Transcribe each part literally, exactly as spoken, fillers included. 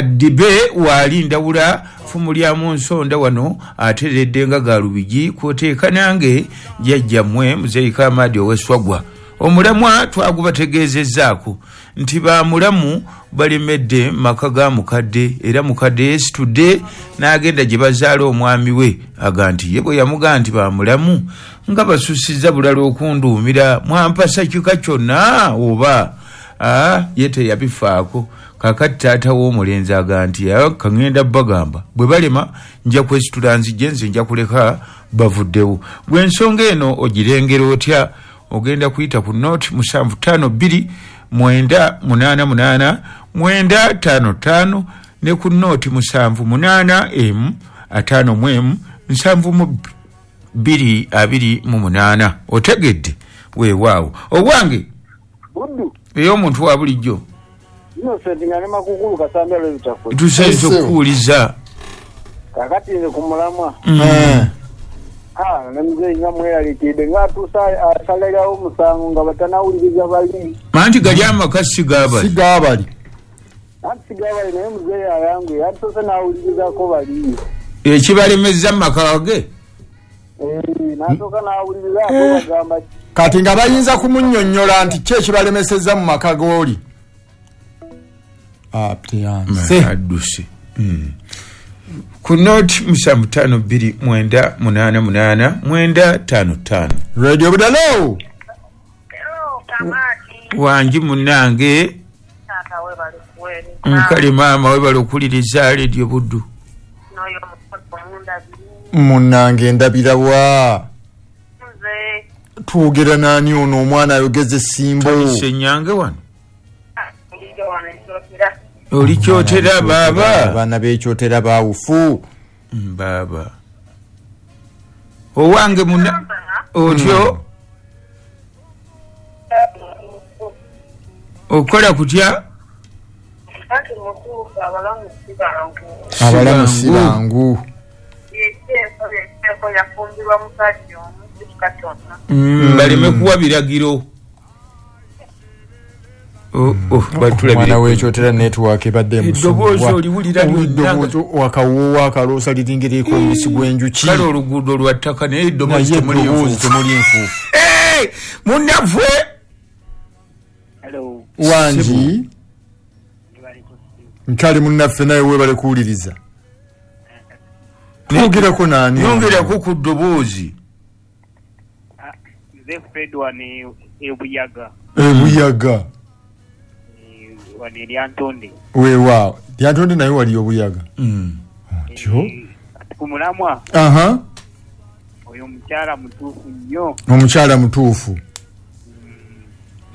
Dibe wali ndawula fumu lya mu nsonda wano ateredde nga galubigi kwoteeka nange jjajjammwe Muzeeyi Kamadi ow'Esswagwa. Omulamwa twagubategeezezzaako nti bamulamu balemedde maka ga mukadde, era mukadde yeesitudde n'agenda gye bazaala omwami we, aga nti ye bwe yamugaa nti bamulamu nga basusizza bulala okunduumira, mwampasa kika kyonna oba aa ye teyabifaako. Kakati taata w'omulenzi aga nti kaŋŋenda bagamba bwe balema nja kwesitula nzije, nze nja kuleka bavuddewo. Gwe ensonga eno ogirengera otya? Ogenda kuyita ku nooti musanvu ttaano bbiri mwenda munaana munaana mwenda ttaano ttaano ne ku nooti musanvu munaana emu ataano mu emu nsanvu mu bbiri abiri mu munaana. Otegedde? Weewaawo. Owange ey'omuntu wa bulijjo tusayinza okukuwuliza. Kakati nze ku mulamwa ne muzeeyi nga mweraliikidde ng'atuusa asalirawo omusango nga batanawuliriza bali. Anti gali amaka si gaabali. Si gaabali. Anti si gaabali, naye muzeeyi ayanguye atuuse n'awulirizako bali. Ekibalemezza mu maka ge? N'asooka n'awuliriza ate bagamba ki? Kati nga bayinza kumunnyonnyola nti ki ekibalemesezza mu maka g'oli? Adduse. Ku nooti musanvu ttaano bbiri mwenda munaana munaana mwenda ttaano ttaano. Radio Budalo. Wangi munnange. Nkale maama webale okuwuliriza Radio Buddu. Munnange ndabira wa? Twogera naani ono omwana ayogeza essimbo? Ssenyange wano. Oli kyotera baaba. Abaana b'ekyotera baawufu. Baaba. Owange muna otyo okola kutya? Abalamu si bangu. Baleme kuwa biragiro. Omwana w'ekyotera network ebadde eddoboozi oliwulira eddoboozi wakawoowo akaloosa liringiriko omubisi gw'enjuki. Kale oluguudo lwa ttaka naye eddoboozi temuli nfuufu. Munnaffe wangi nkyali munnaffe naye weebale kuwuliriza. Twogerako naani? Yongerako ku ddoboozi. Nze Fred wano Ebuyaga. Ebuyaga. Wano Lyantonde. Weewaawo. Lyantonde naye wali Obuyaga. Otyo? Ku mulamwa. Aha. Oyo omukyala mutuufu nnyo. Omukyala mutuufu.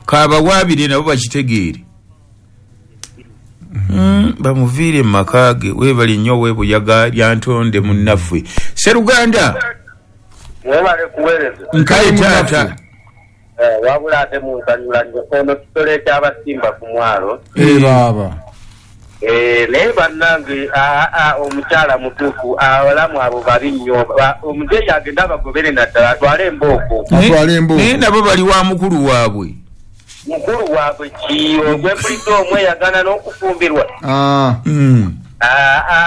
Kabawaabire nabo bakitegeere. Bamuviire mu maka ge. Weebale nnyo Weebuyaga Lyantonde munnaffe. Sseruganda. Weebale kuweereza. Nkale taata. Wabula ate munsanyula ono kisolo ekyabasimba ku mwalo. Eh baaba. Eh naye bannange omukyala mutuufu, abalamu abo babi nnyo. Omuzeeyi agenda abagobere naddala atwale embooko. Atwale embooko. Naye nabo bali wa mukulu waabwe. Mukulu waabwe ki? Ogwempulidde omweyagana n'okufumbirwa.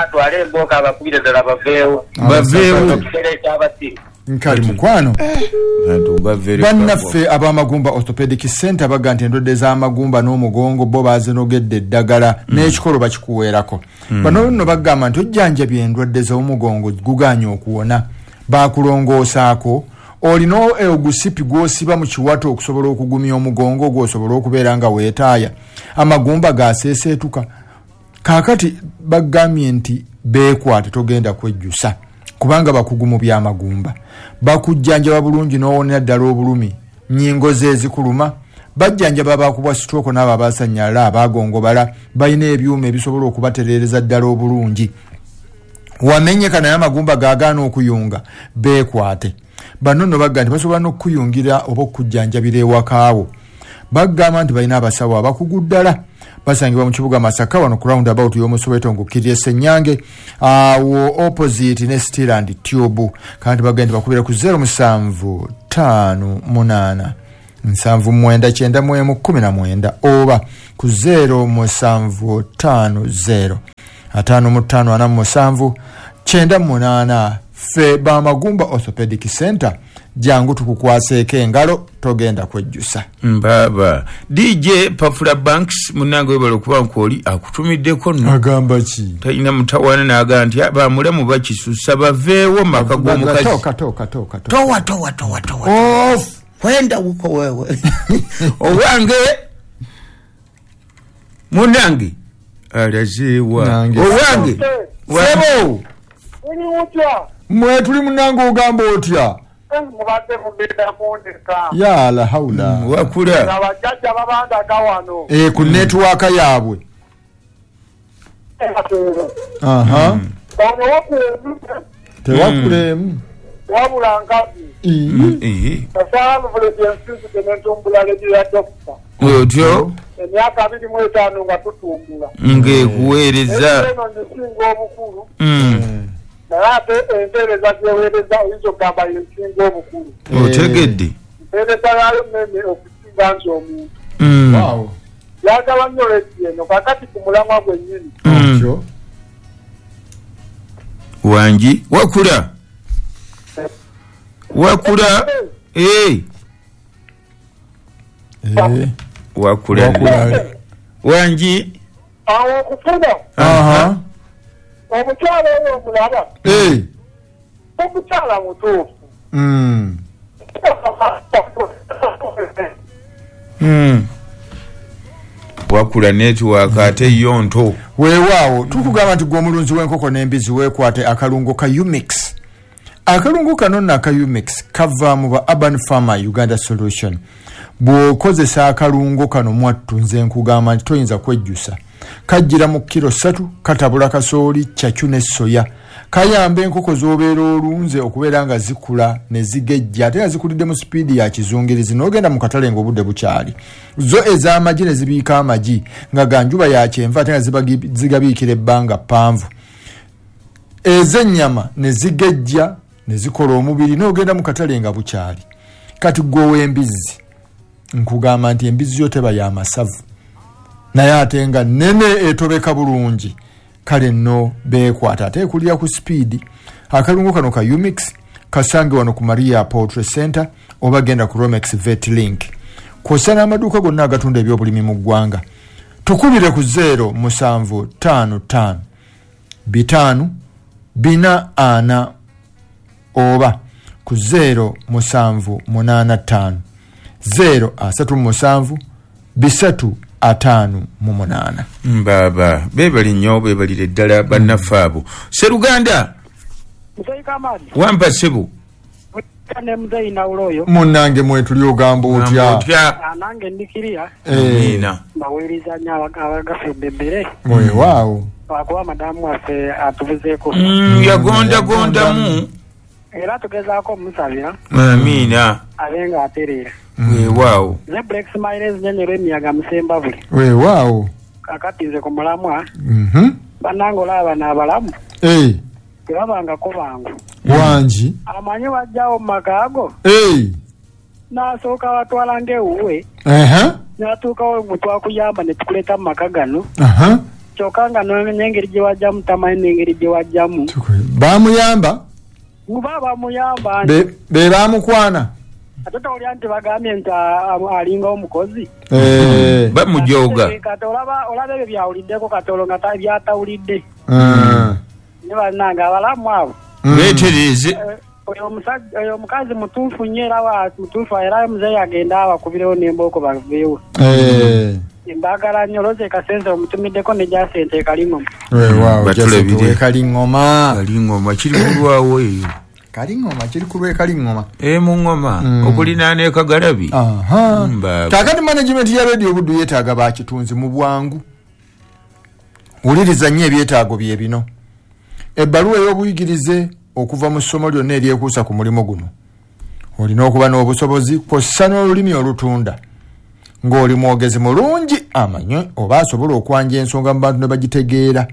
Atwale embooko abakubire ddala baveewo. Baveewo. Ekisolo ekyabasimba. Nkali mukwano. Bannaffe ab'amagumba Orthopedic Center baga nti endwadde z'amagumba n'omugongo bo bazinogedde eddagala n'ekikolo bakikuweerako. Bano nno bagamba nti ojjanjabye endwadde z'omugongo gugaanye okuwona, bakulongoosaako, olina ogusipi gw'osiba mu kiwato okusobola okugumya omugongo gw'osobola okubeera nga weetaaya, amagumba gaseeseetuka. Kaakati bagambye nti beekwate togenda kwejjusa kubanga bakugu mu by'amagumba. Bakujjanjaba bulungi n'owonera ddala obulumi, nnyingo ze ezikuluma, bajjanjaba abakubwa stroke n'abo abasannyalala abaagongobala, balina ebyuma ebisobola okubatereereza ddala obulungi. Wamenyeka naye amagumba gaagaana okuyunga, beekwate. Bano nno bagamba nti basobola n'okukuyungira oba okukujjanjabira ewakaawo. Bagamba nti balina abasawo abakugu ddala. Basangibwa mu kibuga Masaka wano ku roundabout y'Omusoweto ng'okkirira Ssenyange awo opposite ne Steel and Tube. Kandi bagenda bakubira ku zero musanvu ttaano munaana nsanvu mwenda kyenda mu emu kkumi na mwenda oba ku zero musanvu ttaano zero ataano mu ttaano ana mu musanvu kyenda munaana. Ffe Bamagumba Orthopedic Center, jangu tukukwaseeko engalo, togenda kwejjusa. Mbaba D J Pafula Banks munange webale okuba nkwoli akutumiddeko nno. Agamba ki? Talina mutawaana n'agamba nti bamulamu bakisusa baveewo maka g'omukazi. Toka toka toka towa towa towa towa. Off. Kwenda huko wewe. Owange munange alaziwa. Owange sebo uli utya mwe tuli munange ogamba otya mubadde mugenda kundeka ya la haula wakula abajjajja babandaga wano eh ku network yaabwe. Aha tewakulemu wabula nkazi eh asala vule ensinzi tenentumbula lejo ya dokita otyo emyaka abiri mu etaano nga tutumbula ngekuweereza eno nsinga obukulu naye ate empeereza gyeweereza oyinza okugamba yensinga obukulu otegedde empeereza yaayo nene okusinga nti omuntu yagala nnyo leediyo eno kakati ku mulamwa gwennyini wangi wakula wakula eh wakula wangi awo okufuna aha omukyala oyo omulaba eh omukyala mutuufu mm mm wakula network ate yonto weewaawo tukugamba nti gwe omulunzi w'enkoko n'embizi weekwate akalungo ka Umix. Akalungo kano nno aka Umix kava mu ba Urban Farmer Uganda Solution. Bw'okozesa akalungo kano mwattu nze nkugamba nti toyinza kwejjusa. Kajjira mu kiro ssatu, katabula kasooli, ccacu ne soya. Kayamba enkoko z'obeera olunze okubeera nga zikula ne zigejja ate nga zikulidde mu sipiidi ya kizungirizi n'ogenda mu katale ng'obudde bukyali. Zo ez'amagi ne zibiika amagi nga ga njuba ya kyenvu ate nga zigabiikira ebbanga ppanvu. Ez'ennyama ne zigejja ne zikola omubiri n'ogenda mu katale nga bukyali. Kati ggwe ow'embizzi nkugamba nti embizzi yo teba ya masavu naye ate nga nnene etobeka bulungi. Kale nno beekwata ate ekulira ku sipiidi. Akalungo kano ka Umix kasange wano ku Maria Poultry Center oba genda ku Romex Vet Link kw'ossa n'amaduuka gonna agatunda ebyobulimi mu ggwanga. Tukubire ku zero musanvu ttaano ttaano bitaano bina ana oba ku zero musanvu munaana ttaano zero asatu musanvu bisatu ataano mu munaana. Mbaba beebali nnyo beebalire ddala bannaffe abo. Sseruganda wampa ssebo ne muzeeyi Nawulo oyo munnange mwetuli ogamba otya? Nange ndikiriya amiina mbaweereza nnyo abagafudde emmere weewaawo lwakuba madamu waffe atubuzeeko yagondagondamu era tugezaako omusabira amiina abe nga atereera weewaawo. Nze Black Smiles nnyonyola emiyaga Musembabule weewaawo. Kakati nze ku mulamwa bannange olaba bano abalamu tebabangako bangu wangi amanyi wajjawo mu maka ago n'asooka batwala ng'ewuwe n'atuukawo mwe twakuyamba ne tukuleeta mu maka gano kyokka nga n'engeri gye wajjamu tamanyi n'engeri gye wajjamu. Baamuyamba muba bamuyamba be baamukwana ate towulira nti bagambye nti alinga omukozi bamujoga kati olaba ebyo byawuliddeko kati olwo nga byatawulidde ne bannange abalamu abo beetereeze. Oyo omukazi mutuufu nnyo era mutuufu era muzeeyi agenda abakubirewo n'embooko baveewo. Mbaagala nnyo Rose Kasenze omutumiddeko ne Jacente Kalingoma. Weewaawo Jacente Kalingoma. Kalingoma kiri kulwawo eyo. Kalingoma kiri ku lw'e Kalingoma. E mu ngoma okulinaana e Kagalabi. Aha. Kaakati management ya Radio Buddu yeetaaga bakitunzi mu bwangu. Wuliriza nnyo ebyetaago bye bino. Ebbaluwa ey'obuyigirize okuva mu ssomo lyonna eryekuusa ku mulimu guno. Olina okuba n'obusobozi kw'ossa n'olulimi olutunda. Ng'oli mwogezi mulungi amanyi oba asobola okwanja ensonga mu bantu ne bagitegeera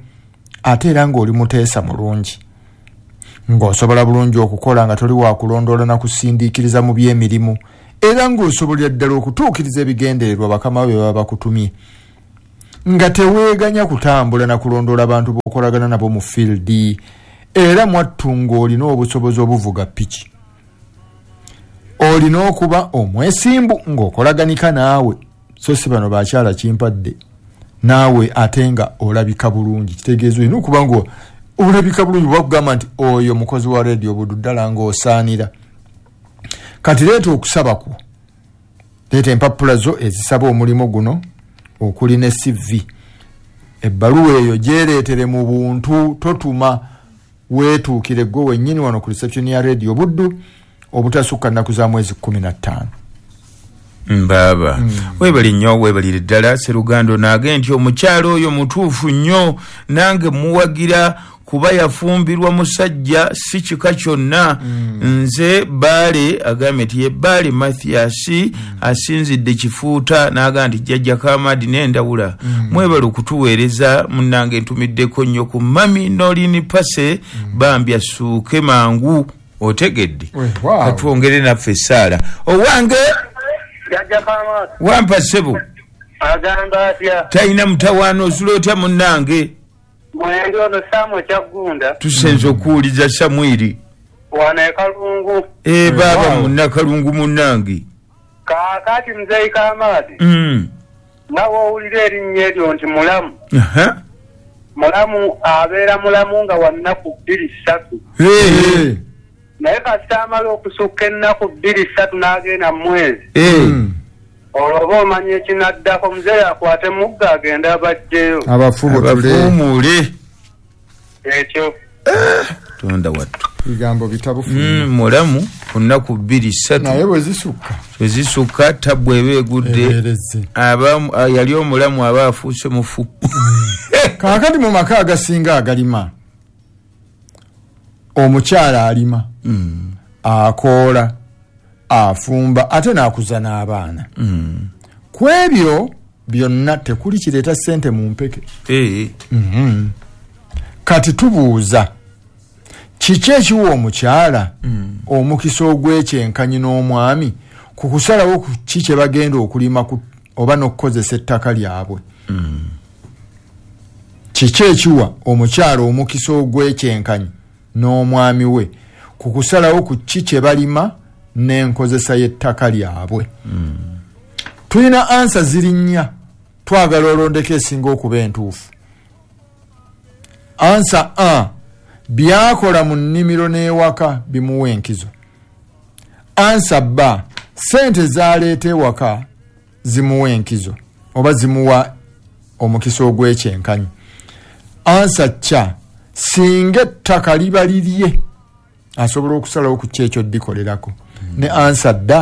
ate era ng'oli muteesa mulungi. Ng'osobola bulungi okukola nga toli wa kulondoola na kusindiikiriza mu by'emirimu era ng'osobolera ddala okutuukiriza ebigendererwa bakama be baba bakutumye, nga teweeganya kutambula na kulondoola bantu b'okolagana nabo mu field, era mwattu ng'olina obusobozi obuvuga piki. Olina okuba omwesimbu ng'okolaganika naawe, so si bano bakyala kimpadde naawe ate nga olabika bulungi. Kitegeeza olina okuba nga olabika bulungi, bakugamba nti oyo mukozi wa Radio Buddu ddala ng'osaanira. Kati leeta okusaba kwo, leeta empapula zo ezisaba omulimu guno okuli ne C V. Ebbaluwa eyo gyereetere mu buntu, totuma, weetuukire gwe wennyini wano ku reception ya Radio Buddu obutasukka nnaku za mwezi kkumi na ttaano. Mbaaba mm. Webali nnyo, webalire ddala Serugando. Naage nti omukyalo oyo mutuufu nnyo, nange muwagira kuba yafumbirwa musajja si kika kyonna. mm. Nze Baale agambye nti ye Baale Mathias mm. asinzidde Kifuuta n'agamba nti jjajja Kamadi n'endawula. mm. Mwebale okutuweereza munnange, ntumiddeko nnyo ku Mami Nolini Pase. mm. Bambi asuuke mangu, otegedde. Wow. Katwongere naffe essaala. Owange jjajja Kamadi, wampa ssebo. Agamba atya? Talina mutawaana, osula otya munnange? Mwenge ono Samu Kyaggunda. Tusenze okuwuliza Samwiri. Wano e Kalungu. E baaba munnakalungu munnange. Kaakati Muzeeyi Kamadi. Mm. Nga w'owulira erinnya eryo nti Mulamu. Uh-huh. Mulamu abeera mulamu nga wa nnaku bbiri ssatu. Hey. Naye kasita amala okusukka ennaku bbiri ssatu n'agenda mu mwezi. Hey. Olwo oba omanya ekinaddako, muzeeyi akwate mugga agende abajjeyo. Abafuumule. Ekyo. Tonda wattu. Bigambo bitabufu. Mm, mulamu ku nnaku bbiri ssatu. Naye bwe zisukka. Bwe zisukka tabbu eba egudde. Aba yali omulamu aba afuuse mufu. Kaakati mu maka agasinga agalima, omukyala alima, mm. akoola, afumba ate n'akuza n'abaana. Mm. Ku ebyo byonna tekuli kireeta ssente mu mpeke. Ee. Mm-hmm. Kati tubuuza kiki ekiwa omukyala mm. omukisa ogw'ekyenkanyi n'omwami ku kusalawo ku ki kye bagenda okulima oba n'okukozesa ettaka lyabwe? Mm. Kiki ekiwa omukyala omukisa ogw'ekyenkanyi n'omwami we ku kusalawo ku ki kye balima n'enkozesa y'ettaka lyabwe? Mm. Tulina ansa ziri nnya, twagala olondeko esinga okuba entuufu. Ansa A, byakola mu nnimiro n'ewaka bimuwa enkizo. Ansa B, ssente z'aleeta ewaka zimuwa enkizo oba zimuwa omukisa ogw'ekyenkanyi. Ansa C, singa ettaka liba lirye asobola okusalawo ku ki ekyo ddikolerako. Mm. Ne ansa D,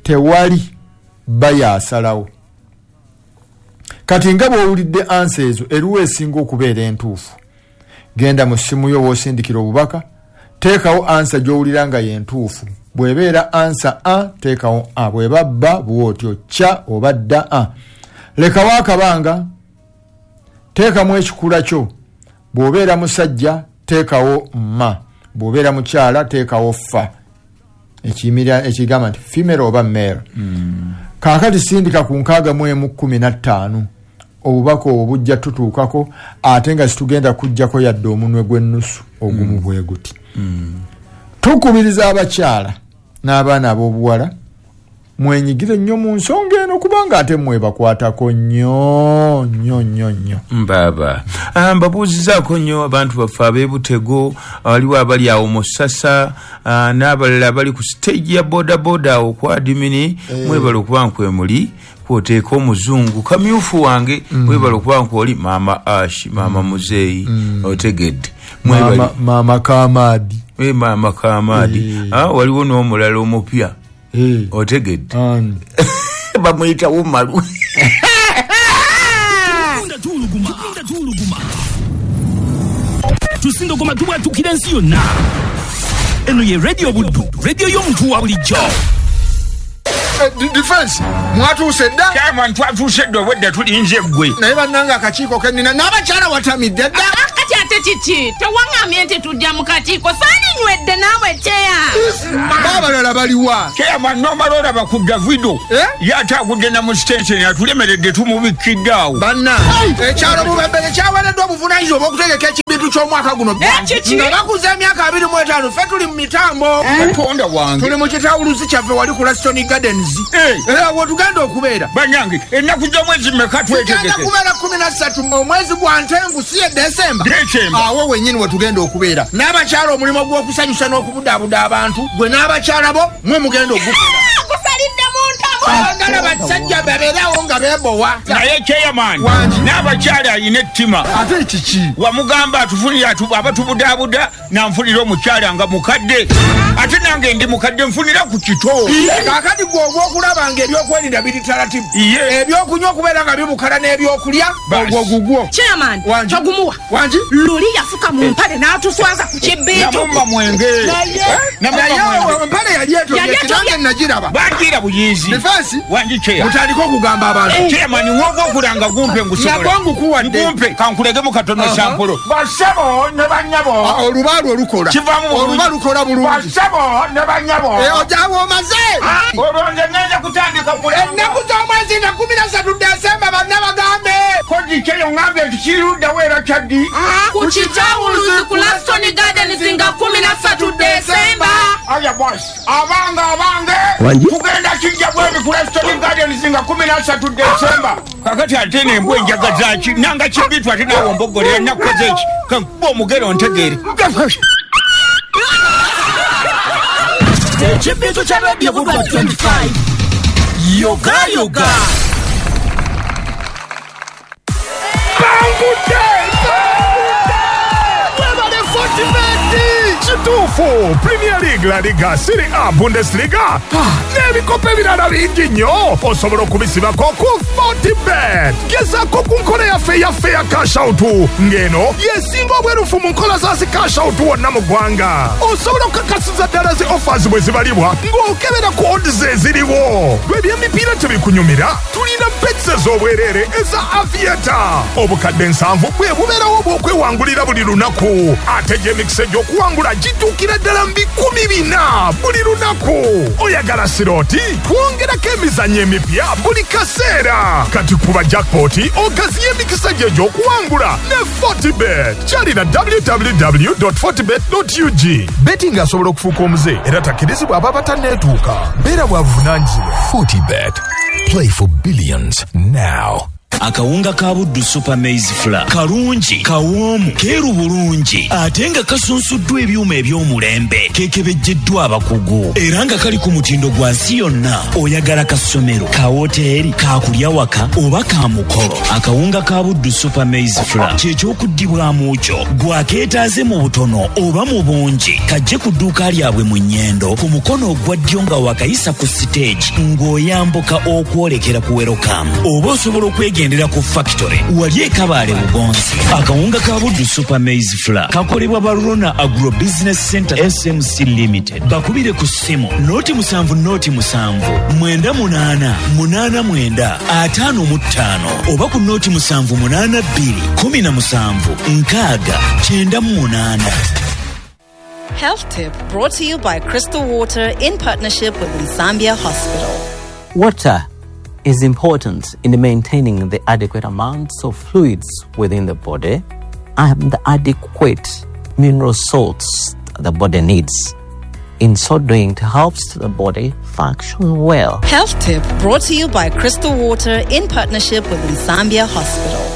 tewali bayasalawo. Kati nga bw'owulidde ansa ezo, eruwa esinga okubeera entuufu? Genda mu ssimu yo w'osindikira obubaka, teekawo ansa gy'owulira nga y'entuufu. Bw'ebeera ansa A, teekawo A, bw'eba B, bw'otyo, C oba D A. Lekawo akabanga, teekamu ekikula kyo. Bw'obeera musajja, teekawo ma. Bw'obeera mukyala, teekawo fa. Ekiyimirira ekigamba nti female oba male. Mm. Kaakati sindika ku nkaaga mu emu kkumi na ttaano. Obubaka obwo bujja tutuukako, ate nga situgenda kujjako yadde omunwe gw'ennusu ogumu mm. bwe guti. Mm. Tukubiriza abakyala n'abaana ab'obuwala mwenyigire nnyo mu nsonga eno, kubanga ate mwebakwatako nnyo nnyo nnyo nnyo. Mbaaba mbabuuzizaako nnyo abantu baffe ab'ebutego, waliwo abali awo mu Ssasa n'abalala abali ku stage ya bodaboda awo ku adimini. Eh. Mwebale okuba nkwemuli kwoteeka omuzungu kamyufu wange. Mm. Mwebale okuba nkwoli maama Ashi, maama Muzeeyi. Mm. Otegedde. Mwebale. Maama, maama Kamadi. E maama Kamadi. Eh. Ah, waliwo n'omulala omupya. Hey. Otegedde. Ani? Bamuyita Umaru. Tusindogoma tubwatukira ensi yonna. Eno ye Radio Buddu, radio y'omuntu wa bulijjo. Defense, mwatuuse dda? Chairman, twatuuse dda, obwedda tulinze ggwe. Naye bannange akakiiko ke nnina n'abakyala watamidde dda. Kati ate Kiki? Tewaŋŋambye nti tujja mu kakiiko, saalinywedde naawe kyeya. Baabalala baliwa? Chairman nomala olaba ku Davido ye ate agudde na mu sitenseni atulemeredde tumubikkidde awo. Banna ekyalo Bubembere kyaweereddwa obuvunaanyizibwa obw'okutegeka ekibintu ky'omwaka guno nga bakuza emyaka abiri mu etaano. Ffe tuli mu mitambo. Katonda wange, tuli mu kitawuluzi kyaffe wali ku Laston Gardens era wetugenda okubeera. Bannange, ennaku z'omwezi mmeka Tugenda twetegeke? kubeera kumi na ssatu omwezi gwa Ntenvu, si ye Desemba? Desemba. Awo wennyini wetugenda okubeera n'abakyala. Omulimu gw'okusanyusa n'okubudaabuda abantu, gwe n'abakyala bo mwe mugenda ogukola. Gusalidde mu ntamu. Agala basajja babeerawo nga beebowa. Naye chairman, Wangi. n'abakyala alina ettima. Ate kiki? Wamugamba atufunire atu- abatubudaabuda, nanfunira omukyala nga mukadde, ate nange ndi mukadde, nfunira ku kito. Kaakati gwe ogw'okulaba nga ebyokwerinda biri taratibu, Ye. ebyokunywa okubeera nga bibukala n'ebyokulya, Basi. ogwo gugwo. Chairman, Wangi. togumuwa. Wangi. Luli yafuka mu mpale n'atuswaza ku kibintu. Namumma mwenge. Namumma Naye mwenge. empale yali etobye. Yali etobye. Nange nagiraba. Bagira buyizi. Defense. Wangi cheya? Mutandike okugamba abantu. Chairman, woga okulanga gumpe ngusobola. Nagwo ngukuwadde. Gumpe kankulegemu katono. Aha. Sampolo, basebo ne banyabo. Ah, olubaalu olukola Kivaamu bulungi. Oluba lukola bulungi. Basebo ne banyabo. Eh, ojawo omaze. Olwo nze ngenda kutandika kulanga. Ennaku z'omwezi nga kumi na ssatu Desemba, banna bagambe. Koji kyeyo ŋŋambye nti kiriruddawo era kyaddi? Ku kitawuluzi ku Laston Gardens nga kumi na ssatu Desemba. Aya boss, abange abange, tugenda kijja bwebi ku Laston Gardens nga kumi na ssatu Desemba. Kakati ate nembwa enjaga zaki nanga kibitu, ate naawe ombogolera nakukoze eki? Kankuba omugero ntegeere. Ekibintu kya Radio Buddu twenty-five, yoga yoga. Bangudde! Webale Fortibet! Kituufu, Premier League, La Liga, Serie A, Bundesliga n'ebikopo ebirala bingi nnyo osobola okubisibako ku Fortibet. Gezaako ku nkola yaffe eyaffe ya cash-out, ng'eno yesinga obwerufu mu nkola za zi cash-out wonna mu ggwanga. Osobola okukakasiza ddala zi offers bwe zibalibwa ng'okebera ku odds eziriwo. Lwe by'emipiira tebikunyumira, tulina bets ez'obwereere eza Aviator. Obukadde nsanvu bwe bubeerawo bw'okwewangulira buli lunaku, ate gy'emikisa egy'okuwangula gituukira ddala mu bikumi bina buli lunaku. Oyagala slot? Twongerako emizannyo emipya buli kaseera. Kati kuba jackpot ogaziye emikisa gye egy'okuwangula ne Fortibet. Kyalira W W W fortibet ug. Betting asobola okufuuka omuze era takkirizibwa aba batanneetuuka. Beera bwa buvunaanyizibwa. Fortibet. Play for billions now. Akawunga ka Buddu Super Maize Flour kalungi, kawoomu, keeru bulungi, ate nga kasunsuddwa ebyuma eby'omulembe, kekebejjeddwa abakugu, era nga kali ku mutindo gwa nsi yonna. Oyagala kasomero, ka woteeri, kakulya waka oba ka mukolo, akawunga ka Buddu Super Maize Flour kyekyokuddibwamu kyo. Gwakeetaaze mu butono oba mu bungi, kajje ku dduuka lyabwe mu Nnyendo, ku mukono ogwa ddyo nga wakayisa ku siteegi ng'oyambuka okwolekera ku Welcome, oba osobola okwegendera ku factory wali ekabaale Bugonzi. Akawunga ka Buddu Super Maize Flour kakolebwa Barona Agro Business Center S M C Limited. Bakubire ku ssimu noti musanvu noti musanvu mwenda munaana munaana mwenda ataano mu ttaano oba ku noti musanvu munaana bbiri kumi na musanvu nkaaga kyenda mu munaana. Health Tip brought to you by Crystal Water in partnership with Nsambya Hospital. Water is important in maintaining the adequate amounts of fluids within the body and the adequate mineral salts the body needs. In so doing, it helps the body function well. Health Tip brought to you by Crystal Water in partnership with Nsambya Hospital.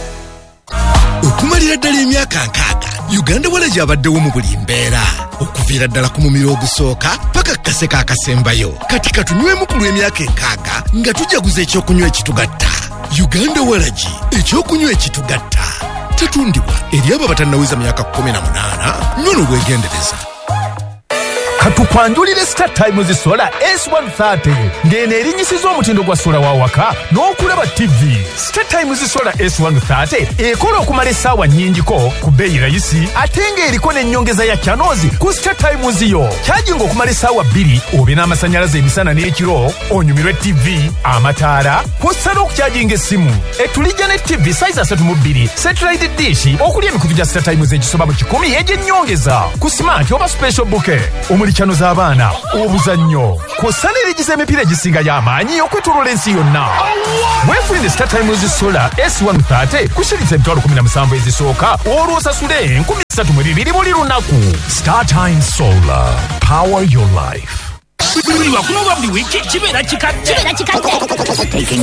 Okumalira ddala emyaka nkaaga, Uganda Walagi abaddewo mu buli mbeera, okuviira ddala ku mumiro ogusooka paka ku kaseka akasembayo. Kati katunywemu ku lw'emyaka enkaaga nga tujaguza ekyokunywa ekitugatta. Uganda Walagi, ekyokunywa ekitugatta. Tetundibwa eri abo abatannaweza myaka kkumi na munaana. Nywa n'obwegendereza. Katu Tukwanjulire Star Times Solar S one thirty ng'eno erinnyisiza omutindo gwa sola wa waka n'okulaba T V. Star Times Solar S one thirty ekola okumala essaawa nnyingiko ku bbeeyi rayisi ate ng'eriko n'ennyongeza ya channels ku Star Times yo. Kyajinga okumala essaawa bbiri obe n'amasannyalaze emisana n'ekiro, onyumirwe T V, amataala, kw'ossa n'okukyajinga essimu. Etulijja ne T V size asatu mu bbiri, satellite dish okuli emikutu gya Star Times egisoba mu kikumi egy'ennyongeza ku smart oba special bouquet omuli channel z'abaana, obuzannyo, kw'ossa n'erigiza emipiira egisinga y'amaanyi okwetooloola ensi yonna. Weefunire Star Times Solar S one thirty ku shilingi emitwalo kumi na musanvu ezisooka olwo osasule enkumi ssatu mu bibiri buli lunaku. Star Times Solar, power your life. Buli lwakuno lwa buli wiiki kibeera kikadde.